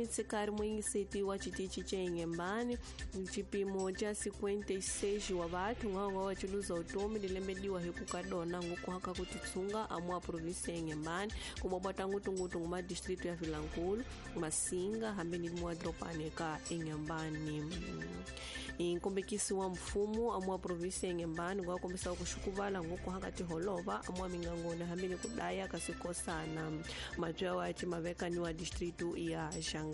Mitsikari muyingiseti wa xitichi xa Inhembane xipimo xa 56 wa vathu ng'wan'wa wa chiluza utomi lilembediwa hi ku ka dona ngukuhaka ku titsunga amua provinsia ya Inhembane kumobota ngutungutu nguma distrito ya Vilankulu Masinga hambi ni muadropani ka Inhembane. Nkombekisi wa mfumo amua provinsia ya Inhembane ngwa kombisa ku xukuvala ngukuhaka tiholova amua mingangoni hambi ni kudaya kasikosana matwa wa chimavekani wa distrito ya Xangamu.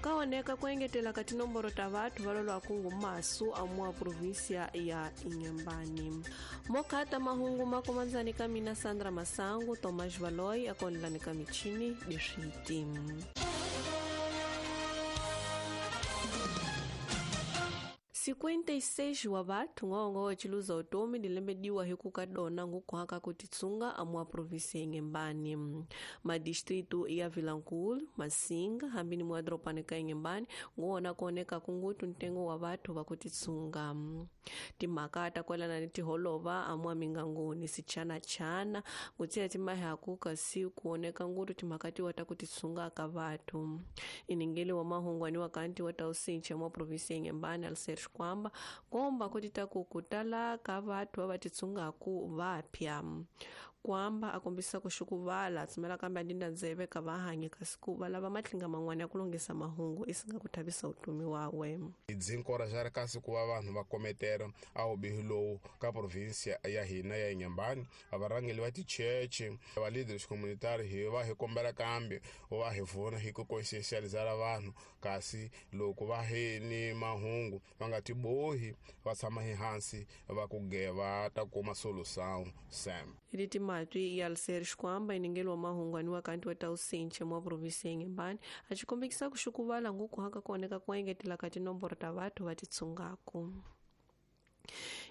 Kaoneka kuengetela ka tinomboro ta vathu va lolwaku ngumasu amua provinsia ya Inhembane. Mokata mahungu makomandzani ka mina Sandra Masangu, Tomás Valoy akonelani ka michini diswiti. 56 wa vathu ng'ongo wa chiluza utomi dilembediwa hi ku ka dona ngukuhaka ku titsunga amua provinsia ya Inhembane. Madistrito ya Vilankulu, Masinga hambi ni muadropani ka Inhembane nguwona kuoneka kungutu ntengo wa vathu va ku titsunga. Timhaka ta kwelana ni tiholova amua mingangoni sichanachana ngutsiya timahaku kasi kuoneka ngutu timhaka tiwa ta ku titsunga ka vathu. Iningeli wa mahungwani wa kanti wa tausinche mwa provinsia ya Inhembane Alcer kwamba komba kuti takukutala ka vathu va titsungaku vapya kwamba akombisa kuxukuvala tsumela kambe andinda ndzeve ka vahanyi kasi ku va lava matlinga man'wana ya ku lunghisa mahungu isinga ku thavisa utumi wawe. Dzinkora xa ri kasi ku va vanhu va kometera a wubihi lowu ka provinsia ya hina ya Inhembane varhangeli va ticheche va leaders communitary hi va hi kombela kambe va hi vona hi ku conscientializela vanhu kasi loko va hi ni mahungu va nga tibohi va tshama hi hansi va ku geva ta kuma solution sam. Leti matwi ya Alcer Xikwamba iningelo wa mahungwani wa kanti wa tausinche mwa provinsia ya Inhembane a xikombekisa ku xukuvala ngukuhaka kuoneka ku engetela ka tinomboro ta vathu va titsungaku.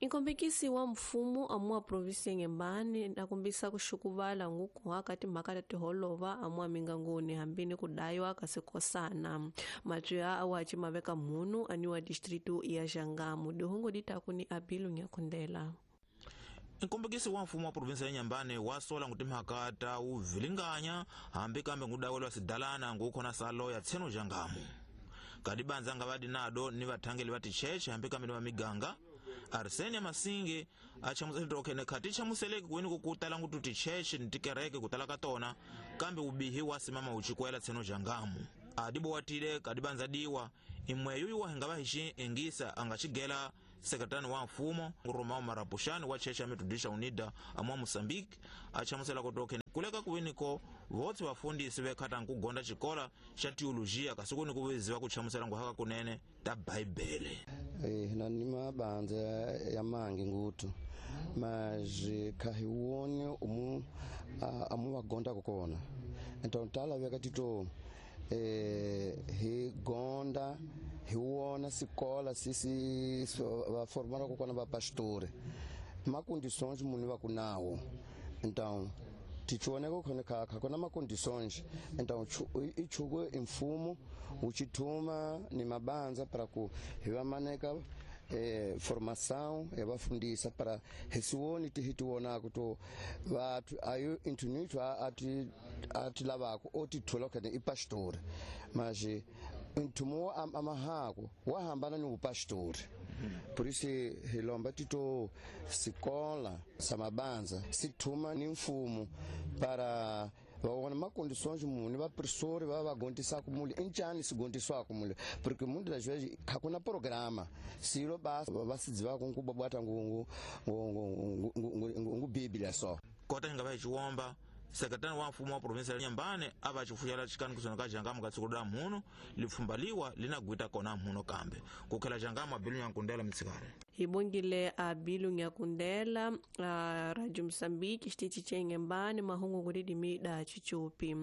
Inkombekisi wa mfumo amua provinsia ya Inhembane akombisa ku xukuvala ngukuhaka timhaka ta tiholova amua mingangoni hambi ni ku daywa ka sikosana. Matwi ya awachi maveka mhunu aniwa distrito ya Xangamu. Dihungu ditaku ni Abilu Nyakundela. Nkombekisi wa mfumo wa provinsia ya Inhembane wa sola ngutimhaka ta uvilinganya hambi kambe ngudawelwa sidalana ngukhona salo ya tseno Xangamu. Kadibanza nga vadi nado ni vathangeli va ticheche hambi kambe ni va miganga. Arsenia Masinge achamuseleke khati chamuseleke kweni kukutala ngutu ticheche ni tikereke kutala ka tona kambe ubihi wa simama uchikwela tseno Xangamu. Adibowatile kadibanza diwa imweyo yuwa hingava hishi engisa angachigela sekretari wa mfumo Romao Marapushani wa cheche ya Metodista Unida amwa Mozambique achamusela kutoke kuleka kuwiniko votse vafundisi vekhata nkugonda xikola xa teologia kasi kuni kuviziwa kuchamusela nguhaka kunene ta Bhaibhele. Hina ni mabanza ya mangi ngutu mas kahiwone umu amu vagonda kukona então tala vekatito hi gonda hi wona sikola sisi va formara kukona va pastore ma condições munhu va ku nawo então tichioneka khona kha kona ma condições então ichuko imfumo uchithuma ni mabanza para ku hi va maneka formação ya vafundisa para hisiwoni tihitiwonako to vathu ayo intunito ati ati lavako otithola khane i pastor mas ntumo amahako wahambana ni upastori. Por isso hilomba tito sikola samabanza sithuma ni mfumo para vaona macondições muni vapressori va vagontisaka muli injani sigontiswaka muli porque muitas das vezes hakuna programa silo ba va sidzivaka nkubabwata ngu ngu biblia so kota hinga va xiwomba sekretari wa mfumo wa provinsia ya Inhembane a va xifuxela xikani kusona ka Xangamu ka tsiko ra mhuno lipfumba-liwa li na gwita kona mhuno kambe ku khela Xangamu Abilu Nyakundela mitsikari. Hi bongile Abilu Nyakundela Radio Mozambique xitichi xa Inhembane mahungu ku da chichupi.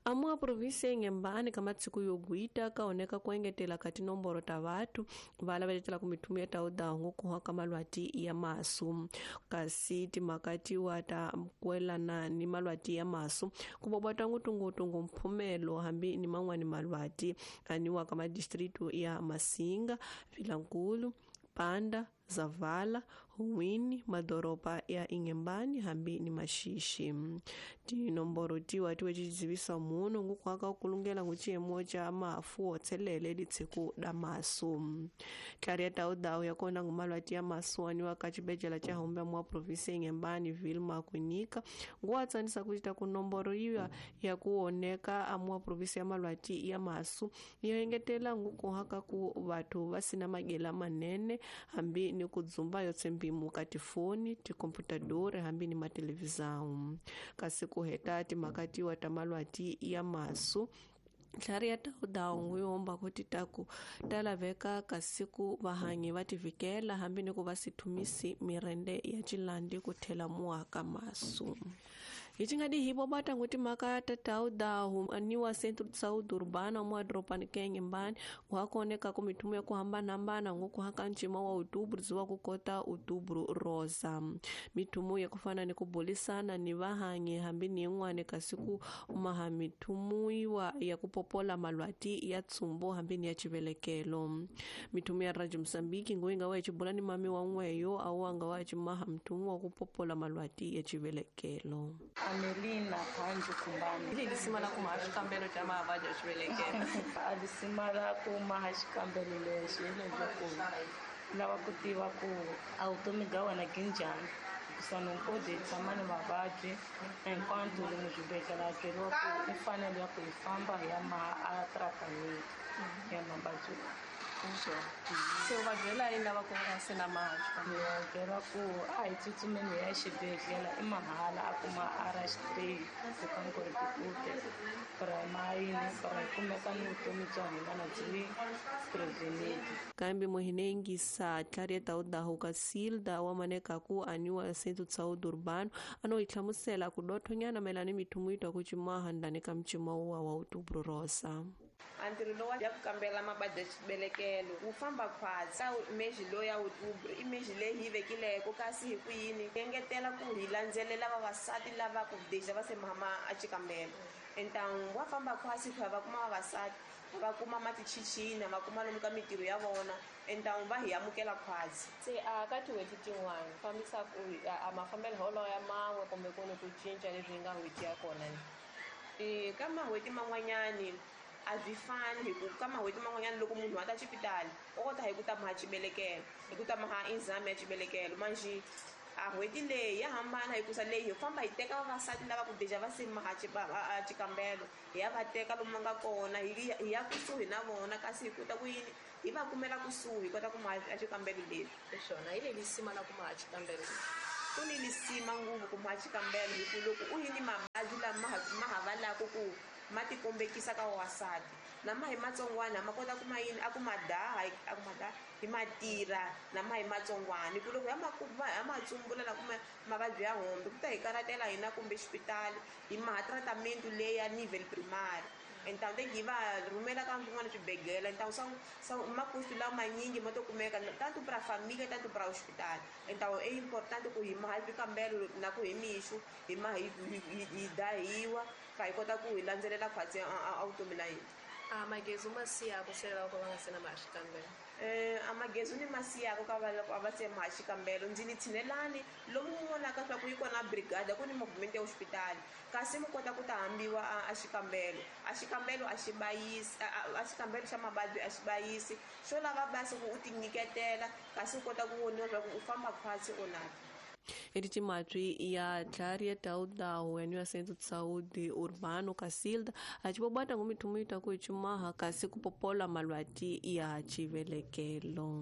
Amua provinsia ya Inhembane ka matsiko yo gwita kaoneka ku engetela ka tinomboro ta vathu va lava letela ku mithumi ya tawudahu ku ka malwati ya masu kasi timhaka tiwa ta kwelana ni malwati ya masu ku bobota ngutungutungu mphumelo hambi ni man'wani malwati aniwa ka madistrito ya Masinga, Vilankulu, Panda, Zavala, Huwini, madoropa ya Inhambane hambi ni Maxixi. Tinomboro tiwa tiwe tizivisa muno ngukwaka ukulungela nguchiyemo cha mafu otselele litshiku da masu. Tlari ya tau ya kona ngumalwati ya masu waniwa ka chibejela cha humbe mwa provinsi ya Inhambane Vilma Kwinika nguwatsanisa kuchita kunomboro iya ya kuoneka amwa provinsi ya malwati ya masu yoengetela ngukuhaka ku vathu vasina magela manene hambi ni kudzumba yotsembimu ka tifoni tikomputadori hambi ni matelevisão. Kasi kuheta timakatiwa ta malwati ya masu tlhari ya tau nguyomba kuti taku talaveka kasiku vahanyi va tivikela hambi ni ku va sithumisi mirende ya cilandi ku thela muaka masu. Hichingadi hibo bata nguti maka tatau dahu aniwa centro de saúde urbana mwa dropani kenye mbani wakoneka kumitumu ya kuhambana-hambana ngukuhaka ncima wa outubro zuwa kukota outubro rosa. Mitumu ya kufana ni kubulisana ni vahanyi hambi ni ing'wane kasiku maha mitumu iwa ya kupopola malwati ya tsumbo hambi ni ya chivelekelo. Mitumu ya Radio Msambiki nguinga wa chibula ni mami wa ngweyo au anga wa chimaha mtumu wa kupopola malwati ya chivelekelo. Amelina Kanju Kumbani. Ili lisima la kumaha xikambelo xa mavabyi ya xivelekelo. A lisima la kumaha xikambelo lexi hi leswaku lava ku tiva ku a vutomi bya wena byi njhani. Hikusa ni hi tshama ni mavabyi hinkwato lomu swibedhlele a byeriwa ku i fanele ya ku hi famba hi ya maha a tratament ya mavabyi lawa. Se u va byela yini lava ku nga se na maha xikambelo? Ni va byela ku a hi tsutsumeni hi ya xibedhlele i mahala a kuma RH3 ku ri primary para kumeka ni vutomi bya hina na byi prevented. Kambe muhinengisa tlhari taudahu ka Silda wa maneka ku aniwa centro de saúde urbano ano ihlamusela ku dothonyana mayelana ni mithumu yitwa ku cimaha ndani ka mcima wa outubro rosa. Antirho lowa ya ku kambela mavabyi ya xibelekelo wu famba khwatsi ka meji lowu ya outubro i meji leyi hi vekileko kasi hi ku yini engetela ku hi landzelela vavasati lava ku deja va se mama a xikambelo entangu wa famba khwatsi ku ya va kuma vavasati va kuma matichichina va kuma lomu ka mitirho ya vona entangu va hi amukela khwatsi. Se a ka tin'hweti tin'wana fambisa ku a mafambelo holo ya man'we kumbe ku ni ku cinca leswi hi nga n'hweti ya kona ni ka mahweti man'wanyani a byi fani hi ku ka mahweti man'wanyana loko munhu a ta xipitali u kota hi ku ta maha xibelekelo hi ku ta maha exam ya xibelekelo manjhe a n'hweti leyi ya hambana hikusa leyi hi famba hi teka vavasati lava ku deja va se maha xikambelo hi ya va teka lomu va nga kona hi ya kusuhi na vona kasi hi kota ku yini hi va kumela kusuhi hi kota ku maha xikambelo leswi. Swona hi leyi lisima la ku maha xikambelo. Ku ni lisima ngopfu ku maha xikambelo hi ku loko u yi ni mavabyi lama ma ha valaka ku ma tikombekisa ka vavasati na ma hi matsongwana ma kota ku ma yini a ku ma daha a ku ma daha hi ma tirha na ma hi matsongwana hi ku loko ya ma tsumbula na kuma mavabyi ya hombe ku ta hi karatela hina kumbe xipitali hi maha tratament leyi ya nivel primary entangu te hi va rhumela ka swin'wana swibedhlele entangu swa makustu lawa manyingi ma to kumeka tanto para família tanto para hospital. Então é importante ku hi maha swikambelo na ku hi mixo hi ma hi dahiwa ka hi kota ku hi landzelela khwatsi a vutomi la hina. A magezi ma siyako se loko va nga se na maha xikambelo? A magezi ni ma siyako ka va loko a va se maha xikambelo ndzi ni tshinelani lomu mu vonaka swa ku yi kona brigada ku ni movement ya hospitali kasi mu kota ku ta hambiwa a xikambelo. A xikambelo a xi bayisi a xikambelo xa mavabyi a xi bayisi xo lava basi ku u tinyiketela kasi u kota ku voniwa swa ku u famba khwatsi o na. Etimatwi ya tlhari ya taudahu ya centro de saúde urbano Casilda acibobata ngumithumu yita ku cimaha kasi kupopola malwati ya chivelekelo.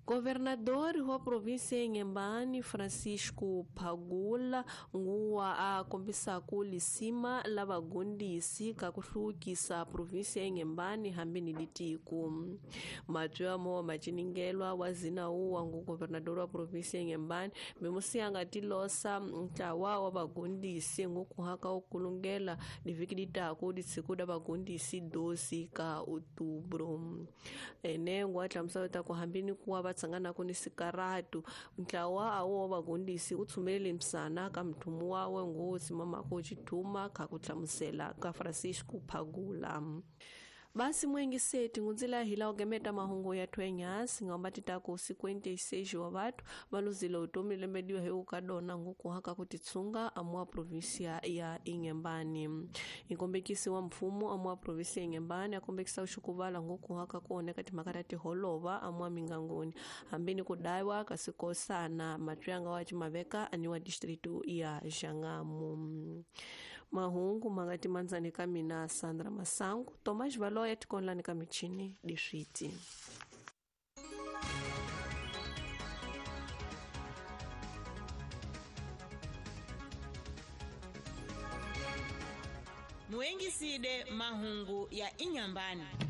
Governador wa província ya Inhambane Francisco Phagula nguwa a kombisaku lisima la vagundisi ka ku hluvukisa província ya Inhambane hambi ni litiko. Matwi amo maciningelwa wa zina uwa ngu governador wa província ya Inhambane mimusiyanga tilosa ntlawa wa vagundisi ngukuhaka ukulungela liviki litaku lisiku da vagundisi 12 ka outubro. Ene ngwa hlamusela ta ku hambi ni kuwa va tsanganaku ni sikaratu ntlawa awo wa vagundisi u tshumelele msana ka mthumu wawe ngosi mamako xithuma kha ku hlamusela ka Francisco Phagula. Basi mwengiseti ngunzila hila ogemeta mahungu ya twenyasi ngamba titaku 56 wa watu valuzile utomi lembediwa heu kadona ngukuhaka kutitsunga amwa provinsia ya Inhambane. Ikombekisi wa mfumo amwa provinsia ya Inhambane akombekisa uxukuvala ngukuhaka kuoneka timhaka tiholova amwa mingangoni hambini kudaiwa kasikosana matwyanga wa cimaveka aniwa distritu ya Xangamu. Mahungu mangati manzani ka mina Sandra Masangu Tomás Valoya tikonlani ka michini diswiti. Muengiside mahungu ya Inhambane.